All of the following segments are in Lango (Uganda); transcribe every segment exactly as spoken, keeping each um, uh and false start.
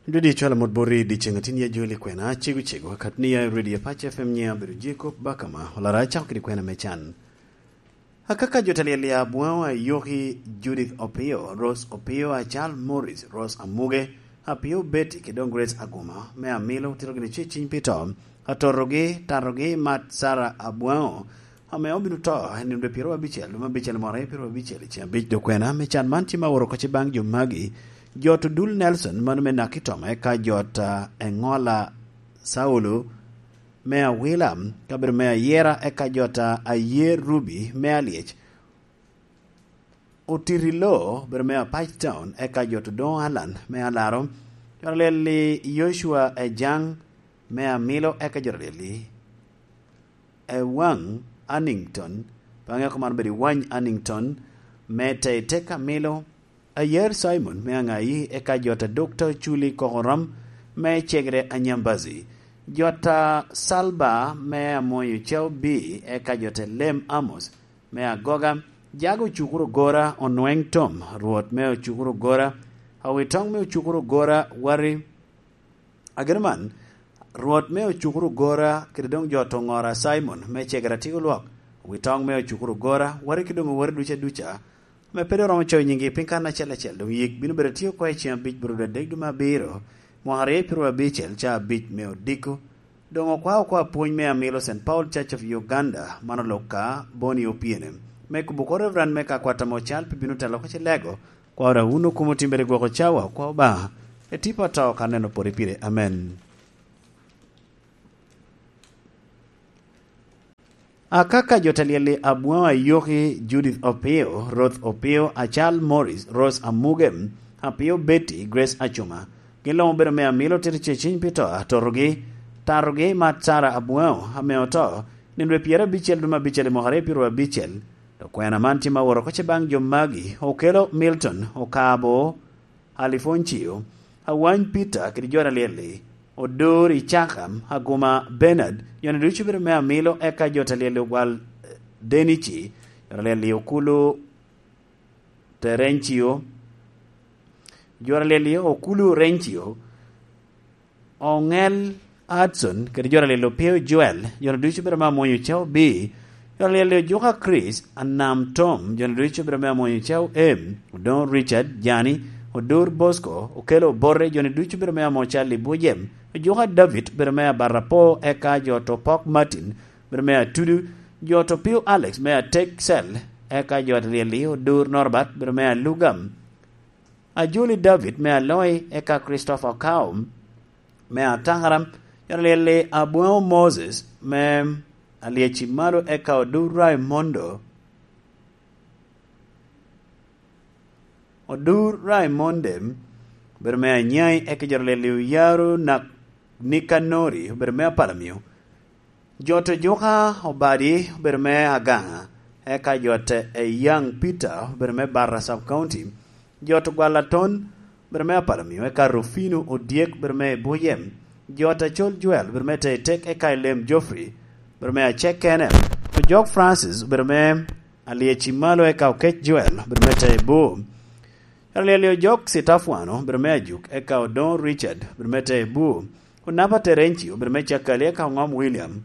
Dwedi cwalo mot boti dyeceŋ atin ya joli kwena cego cego, akat ni ya i Radio Pac F M nyiŋ abedo Jacob Bakama, olara acako kede kwena me can. Akaka jo talyel ya Abwaŋo Ayoki, Judith Opio, Rose Opio, Acal Morris, Rose Amuge, Apio Betty, kede doŋ Grace Aguma, me Amilo, otito gini ce ciny pi to, atotogi, tatogi, mat Sarah Abwaŋo, ame obino to, en dwe pyeraryo abicel, dwe me abicel mwaka aryo pyeraryo abicel, i ceng abic dwe kwena, me can man tye ma oro kacce baŋ jo magi, jo to Dul Nelson, mano me Nakitoma, eka jo ta Eŋola Saulo, me Awila, kabedo me Ayera, eka jo ta Ayer Ruby, me Alyec, Otitilo, bedo me Apac Town, eka jo to Doŋ Alan, me Alaro, jo ta lyel i Yocua Ejaŋ, me Amilo, eka jo ta lyel i Ewaŋ Annington, pe aŋeo kop man obedo i Wany Annington, me Teitek Amilo, Ayer Simon, me Aŋayi, eka jo ta Dokta Culi Kokoram, me Cegere Anyambazi, jo ta Salba, me Amoyo Cau B, eka jo ta Lem Amos, me Agoga, Jago Ocukuro Gora, Onweŋ Tom, Rwot me Ocukuro Gora, Awitoŋ me Ocukuro Gora, Wari, Ageno man, Rwot me Ocukuro Gora, kede doŋ jo to Ŋora Simon, me Cegere Atyeko Lwok, Awitoŋ me Ocukuro Gora, Wari kede doŋ Owori duca duca, ame pe doŋ romo coyo nyiŋgi piny kan acel acel, doŋ yik bino bedo tye oko i ceng abic bro dwe adek dwe me abiro, mwaka aryo pyeraryo abicel, ca abic me odiko. Doŋ okwao oko apwony me Amilo Saint Paul Church of Uganda, man olok ka Boni Opiene. Me kubo oko Reverend me ka kwat ame ocal pi bino telo ka ci lego, kwao da wun okumo timbere gwoko cawa, kwao Obaŋa, etipa to ka neno pori pire. Amen. Akaka jo ta lyel i Abwaŋo Ayoki, Judith Opio, Ruth Opio, Acal Morris, Rose Amuge, Apio Betty, Grace Acuma, gin luŋ obedo me Amilo tito ce ciny pi to atotogi, tatogi mat Sarah Abwaŋo, ame oto, nino dwe pyerabicel dwe me abicel i mwaka aryo pyeraryo abicel. Dok kwena man tye ma oro kacce baŋ jo magi, Okelo Milton, Okabo, Alifoncio, Awany Peter kede jo ta lyel-li, Odor Icaka, Aguma Bernard, jo-ni ducu obedo me Amilo, eka jo ta lyel-li Ogwal, eh, Denici, jo ta lyel-li Okulu Terencio, jo ta lyel-li Okulu Rencio, Oŋel Hudson, kede jo ta lyel-li Opio Joel, jo-ni ducu obedo me Amwonyo Cau B, jo ta lyel-li Ojuka Chris, Anam Tom, jo-ni ducu obedo me Amwonyo Cau M, Odoŋo Richard, Jani, Odur Bosco, Okelo Obote, jo-ni ducu obedo me Amo Cal i Bujem, Ojuka David, obedo me Abarapo, eka jo to Pok Martin, obedo me Atudu, jo to Pio Alex me Atek Cell, eka jo ta lyel-li Odur Norbert, obedo me Alugam, Ajoli David me Aloi, eka Christopher Okaum me Atakara, jo ta lyel-li Abwaŋo Moses me Alyeci Malo, eka Odur Raimondo, Odur Raimonde, obedo me Anyai, eka jo ta lyel-li Oyaro Nak-, Nikanori, obedo me Apalamio, jo to Juka Obadi, obedo me Agaŋa, eka jo ta Eyaŋ Peter, obedo me Barra Sub County, jo to Gwalaton, obedo me Apalamio, eka Rufino Odyek, obedo me Bujem, jo ta Col Joel, obedo me Teitek, eka Elem Geoffrey, obedo me Acek Kene, Ojok Francis, obedo me Alyeci Malo, eka Okec Joel, obedo me Teibu. Alyel-li Ojok Citafwano, obedo me Ajuk, eka Odoŋo Richard, obedo me Teibu. Onapa Terenci, obedo me Cakali, eka Oŋom William,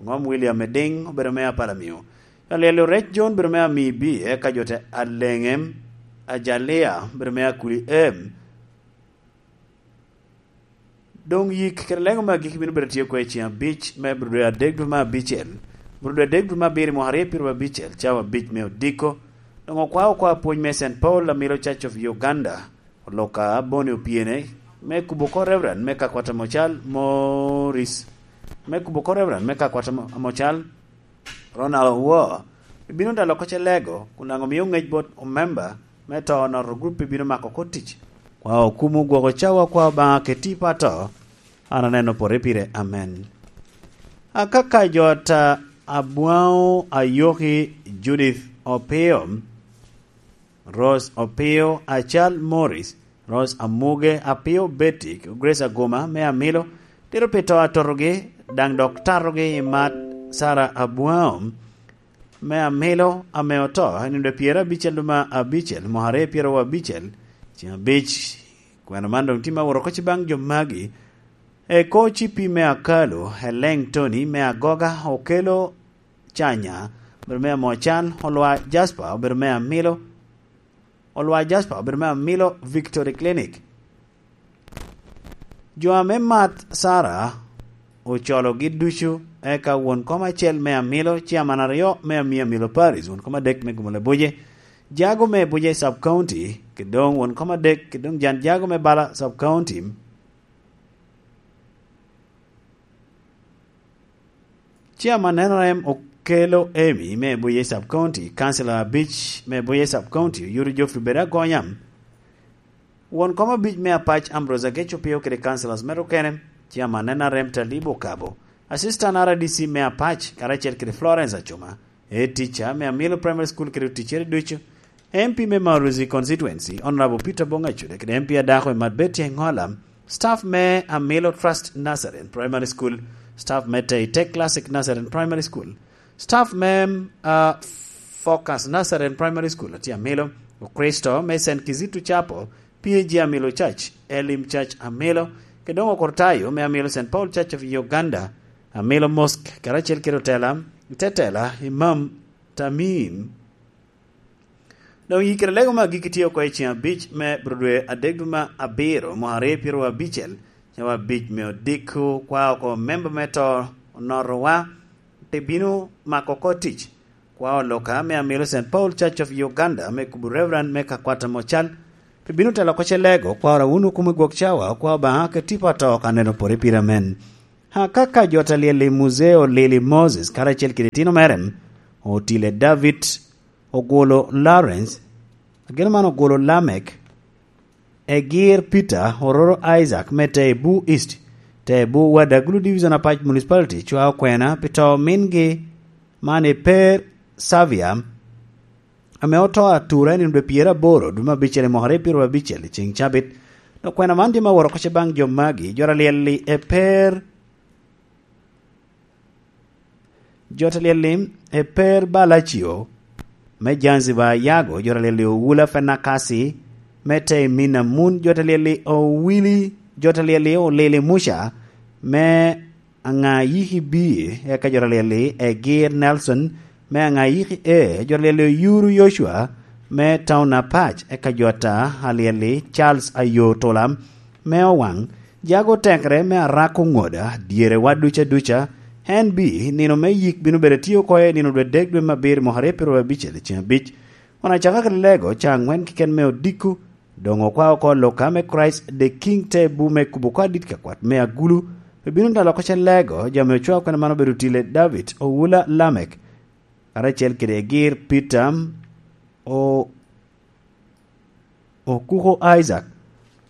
Oŋom William Ediŋ, obedo me Apalamio. Alyel-li Orec John, obedo me Amibi, eka jo ta Aleŋem, Ajalia, obedo me Akuli Em. Doŋ yik kede lego me agikki bino bedo tye oko i ceng abic me bro dwe adek dwe me abicel, bro dwe adek dwe me abiro i mwaka aryo pyeraryo abicel, cawa abic me odiko. Doŋ okwao oko apwony me Saint Paul Amilo Church of Uganda, oloka Boni Opiene, me kubo oko Reverend me Kakwata Mocal Morris, me kubo oko Reverend me Kakwata Mo-, Mocal Ronald Owor, ibino dalo oko ce lego, kun daŋ omio ŋec bot omemba me to noto gurup ibino mako oko tic. Kwa okumo gwoko cawa kwa Obaŋa keti pa to, an aneno pore pire. Amen. Akaka jo ta Abwaŋo Ayoki, Judith Opio, Rose Opio, Acal Morris, Rose Amuge, Apio Betty, Grace Aguma me Amilo, tito pi to atotogi, daŋ dok tatogi i mat Sarah Abwaŋo me Amilo ame oto, i nino dwe pyerabicel dwe me abicel, mwaka aryo pyeraryo abicel, ceng abic, Kwena man doŋ tye me woro kocci baŋ jo magi. Eko cipi me Akalu, Eleŋ Tony me Agoga, Okelo Canya, obedo me Amocan, Olwa Jasper, obedo me Amilo, Olwa Jasper, obedo me Amilo Victory Clinic. Jo ame mat Sara ocologi ducu, eka won kom acel me Amilo, ciaman aryo me Ami Amilo Paris, won kom adek me Gumula Buje, Jago me Buje Sub County, ki doŋ won kom adek, ki doŋ Jan Jago me Bala Sub County. Chairman N R M Okelo Emi me Buje Sub County, Councilor abic me Buje Sub County, Oyuto Geoffrey Bede Agonya, won kom abic me Apac Ambrose Ageco Pio kede councilors mere okene, Chairman N R M Talib Okabo, Assistant R D C me Apac, karacel kede Florence Acuma, Head Teacher me Amilo Primary School kede oticcere ducu, M P me Maruzi Constituency, Honorable Peter Bong Acude, kede M P adako Emat Betty Engola, staff me Amilo Trust Nazarene Primary School, staff me Teite Classic Nazarene Primary School, staff me, uh, Focus Nazarene Primary School, atye Amilo, Okristo me Saint Kizito Chapel, P A G Amilo Church, Elim Church Amilo, kede doŋ Okortayo me Amilo Saint Paul Church of Uganda, Amilo Mosque, karacel kede otela, tetela, Imam Tamim, Doŋ yikere lego me agikki tye oko i ceŋ abic me Abril dwe adek dwe me abiro, mwaka aryo pyeraryo abicel, cawa abic me odiko, kwa oko memba me to onotowa, te bino mako oko tic. Kwa oloka me Amilo Saint Paul Church of Uganda me kubo Reverend me Kakwata Mocal, te bino telo oko ce lego, kwa ora wunu kumo i gwok cawa, kwa Obaŋa ke tipo ato ka neno pore pire amen. Akaka jo ta lyel i Muzeo Lili Moses, karacel kede itino mere, Otile David, Ogwolo Lawrence, ageno man Ogwolo Lamek, Egir Peter, Ororo Isaac me Tebu East, Tebu Wadagulu Division Apac Municipality, cwa okwena pi to mingi man i Per Savia, ame oto atura i nino dwe pyeraboro dwe me abicel i mwaka aryo pyeraryo abicel i ceŋ cabit. Dok kwena man tye me woro kocce baŋ jo magi, jo ta lyel-li e Per Jo ta lyel-li, Eper Balacio, me Zanzibar, Yago, jo ta lyel-li Owula Fenakasi, me Teimina Mun, jo ta lyel-li Owili, jo ta lyel-li Olili Muca, me Aŋayiki B, eka jo ta lyel-li Egir Nelson, me Aŋayiki A, jo ta lyel-li Oyuru Yocua, me Taun Apac, eka jo ta lyel-li Charles Ayo Tula, me Owaŋ, jago tekere me arako ŋoda, dyerewa duca duca, en bi, nino me yik bino bedo tye oko i nino dwe dek dwe me abiro mwaka aryo pyeraryo abicel i ceŋ abic. Kun acaka kede lego, ca aŋwen keken me odiko, doŋ okwa oko loka me Christ the King te bu me kubo oko adit ka kwat me agulu, pe bino dalo oko ce lego, jo ame ocwao kwena man obedo Otile David, Owula Lamek, karacel kede Egir Peter, o, Okuko Isaac,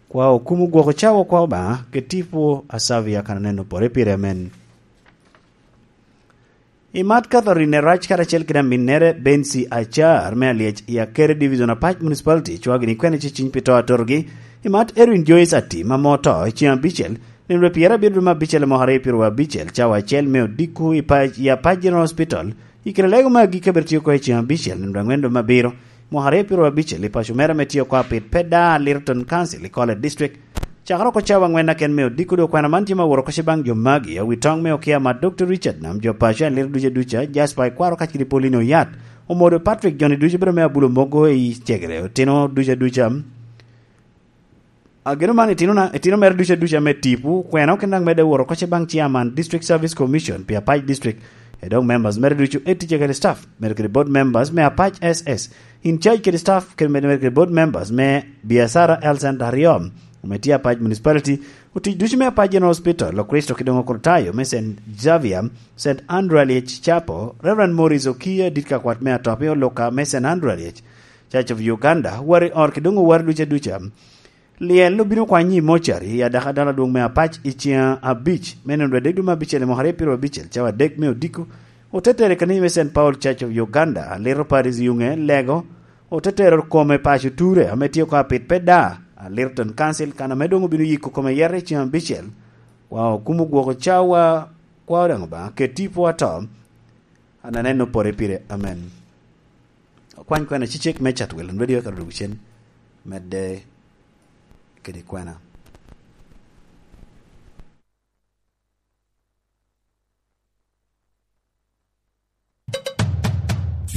kwa okumo gwoko cawa kwa Obaŋa, ke tipo a Savia kan aneno pore pire amen. Imat Catherine Rac karacel kede aminnere Bensi Acar me Alyec i Akere Division Apac Municipality, cwagi ni kwene ciciny pi to atorogi. Imat Edwin Joyce Ati, ma mo to, i ceŋ abicel, nino dwe pyerabiro dwe me abicel i mwaka aryo pyeraryo abicel, cawa acel me odiko i pac, i Apac General Hospital, i kare lego me agikki abiro tye oko i ceŋ abicel, nino dwe aŋwen dwe me abiro, mwaka aryo pyeraryo abicel, i paco mere ame tye oko apit pe da Lyttelton Council i College District. Cakere oko cawa aŋwen aken me odiko dwe okwena man tye me aworo koce baŋ jo magi, awi toŋ me okia mat Doktor Richard Nam, jo paco en liro duca duca, Jasper Ikwaro kacel kede Pauline Oyat, Omodo Patrick, joni ducu bedo me abulo mogo i cegere, otino duca duca. Ageno man itino na, itino mere duca duca me tipo, kwena okin daŋ medde woro koce baŋ chairman District Service Commission pi Apac District, e dok members mere ducu e ticce kede staff, mere kede board members me Apac S S, in charge kede staff, kede mere kede board members me biacara L Center aryo, ame tye Apac Municipality, otic ducu me Apac General Hospital, Okristo ki doŋ Okrutayo me Saint Xavier, Saint Andrew Alyec Chapel, Reverend Morris Okiya, dit ka kwat me Atop i Oluka me Saint Andrew Alyec, Church of Uganda, wari or ki doŋ owari duca duca. Lyel obino kwanyo i mocari i adaka dano adwoŋ me Apac i ceŋ abic me nino dwe adek dwe me abicel i mwaka aryo pyeraryo abicel, cawa adek me odiko, otetere i kanisa me Saint Paul Church of Uganda, Little Paris Yuŋe, Lego, otetere kome paco Ture, ame tye oko apit pe da, Lyttelton Council, kan ame doŋ obino yiko kome yete i ceŋ abicel, wa okumo gwoko cawa, kwa daŋ Obaŋa, ke tipo ato, an aneno pore pire, amen. Okwany kwena cicek me Chatwell, radio ka dwogo cen, medde kede kwena.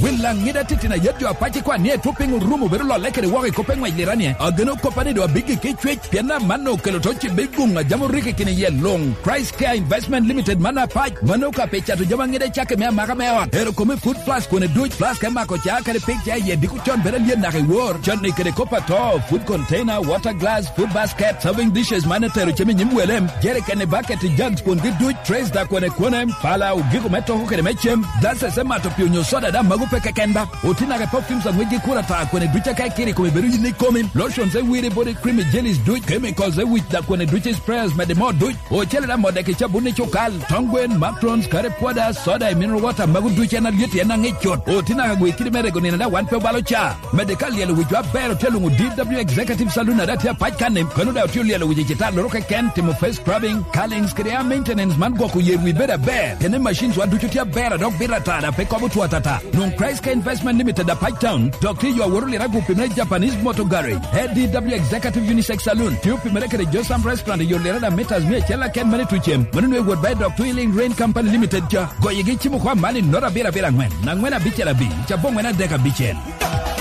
Wel Laŋet atitino a yet jo apac ikwan ni etwop piny orumo bedo lolle kede woko i kop eŋwec liranie. Ageno koppa ni doŋ abiggi ki cwec, pien amanno okelo to cibbe i guŋ a jam orikki kine iye luŋ. Christ Care Investment Limited man apac, mano ka pe cato jami aŋet acakki me amaka me ot. Ero kome food flask kone duc, flask me mako ca kede pig ca iye diko con bedo alyet naka i wor. Canni kede kop ato, food container, water glass, food basket, serving dishes man etero cem i nyim wele, jerikeni, bucket, jugs kungi duc, trays da kone kone, pala, ogiko me toko kede me cem, glasses me mato pii onyo soda da mago pe keken ba. Oti naka perfumes aŋwec gi kura ta kone duc aka ikiri kome bedo yin ikomi, lotions e wiri body cream, jellies duc, chemicals e wic da kone duc, sprayers mede mo duc. Ocele da modde ki cabun i cukal, tong gwen, macrons, curry powder, soda, i mineral water, mago ducu en alyet en aŋic cut. Oti naka gwe kidi me rego nino da wan pe obalo ca. Mede ka lyelo wic wa ber otye luŋu D W Executive Saloon ada tye apac kan-ni. Kano da otye lyelo wic i citar loro keken, timo face scrubbing, curlings kede hair maintenance man gwoko yer wi bedo aber. Tene machines wa ducu tye aber a dok bito atara pe kobo two atata. Nwoŋ Christ Care Investment Limited apac town, dok tye yo aworo lira gupi me Japanese Motor Garage. A D W Executive Unisex Saloon tye opimere kede Josam Restaurant i yo lirada mitas mia acel aken mani tucem. Mano nwe wot ba i dok Twin Link Rain Company Limited ca. Goyegi cimo kwa mani nota abiro abiro angwen, angwen abicel abic, cabo angwen adek abicel.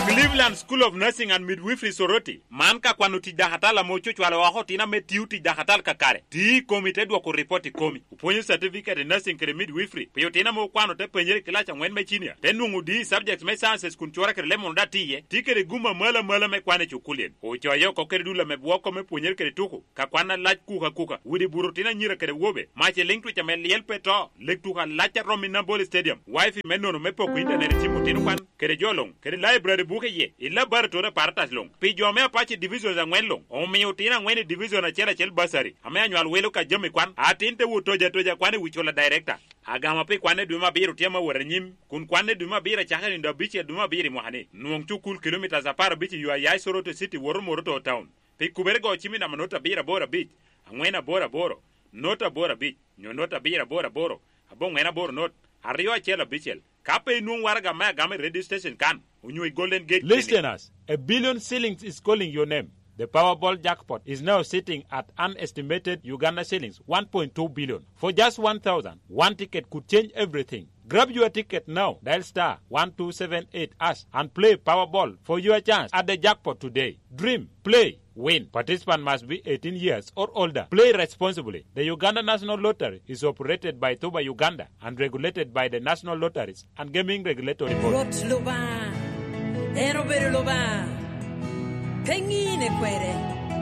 Cleveland School of Nursing and Midwifery Soroti, man ka kwano tic dakatal ame ococwalo oko otino ame tio tic dakatal kakare. Ti i komi te dwoko ripot i komi. Opwonyo certificate i nursing kede midwifery pi otino ame okwano te penyere i kilac angwen me cinia, te nwoŋo D subjects me sciences kun cura kede leb mono daŋ tye iye. Tye kede gum amalo amalo me kwan i cukulien. Ocoyo oko kede dul ame bwoko me pwonyere kede tuko, ka kwan alac kuka kuka, widi buto otino anyira kede awobe, mac i liŋ twic ame lyel pe to, leg tuko alac a romo i Nambole Stadium, wifi me nono me poko intanet i cim otino kwan, kede jo luŋ, kede library buke iye, i laboratory apparatus luŋ. Pi jo me Apache Divisions angwen luŋ, omio otino angwen i division acel acel bursary, ame anywal wilo ka jami kwan, atin te wot toja toja kwan i wi cula director. Agama pi kwan i dwe me abiro tye ame wot anyim, kun kwan i dwe me abiro acakere nino abicel dwe me abiro i mwaka-ni. Nwoŋ cukul kilomitas apar abic i yo a ya i Soroti City woto Moroto Town. Pi kubere go cim i namba not abiro aboro abic, angwen aboro aboro, not aboro abic, nyo not abiro aboro aboro, aboŋwen aboro not, aryo acel abicel. Ka pe inwoŋ waraga me agama i radio station kan, onyo i Golden Gate Clinic. Listeners, a billion shillings is calling your name. The Powerball jackpot is now sitting at an estimated Uganda shillings one point two billion. For just one thousand, one ticket could change everything. Grab your ticket now. Dial star one two seven eight hash and play Powerball for your chance at the jackpot today. Dream, play, win. Participant must be eighteen years or older. Play responsibly. The Uganda National Lottery is operated by Tuba Uganda and regulated by the National Lotteries and Gaming Regulatory Board. Rwot Lubanga, en obedo Lubanga, pe ŋine kwede.